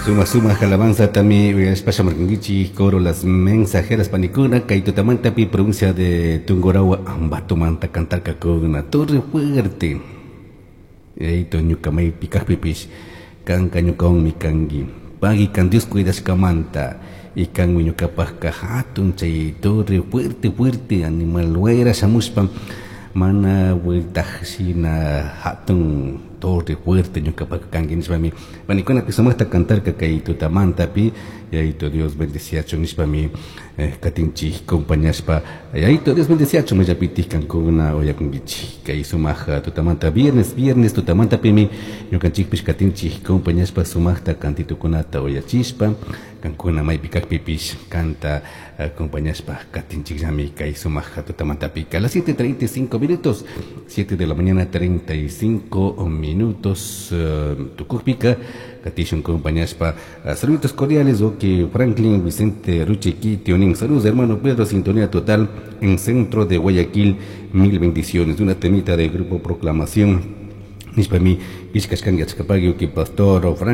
Suma suma alabanza también uyashpa coro Las Mensajeras panikuna kay tutamantapi provincia de Tungurahua Ambatomanta cantarkakuna Torre Fuerte. Yayito ñuka maypi kajpipish kanka ñukawanmi kanki. Pagui kan Dios cuidashkamanta y kanmi ñukapajka hatun chay torre fuerte fuerte animal wayra shamushpa mana vueltaj shina hatun torre fuerte ñukapajka kanki nishpami panikunapi sumaqta cantarka kay tutamantapi. Yayito Dios bendeciachun nishpami katinchik compañashpa. Yayito Dios bendeciachun mayllapitik kankuna uyakunkichik kay sumaq tutamanta viernes viernes tutamantapimi ñukanchikpish katinchik compañashpa sumaqta cantitukunata uyachishpa kankuna maypi kajpipish kanta acompañashpa katinchikllami kay sumaq tutamantapi. A las 7:35 minutos, 7 de la mañana 35 minutos, tukukpika katishun compañashpa. Saludos cordiales, ok, Franklin Vicente Ruchequi Tionín. Saludos, hermano Pedro, sintonía total en centro de Guayaquil, mil bendiciones. Una temita del grupo Proclamación. Nishpami, ishkashkan yachkapagui, pastor Franklin.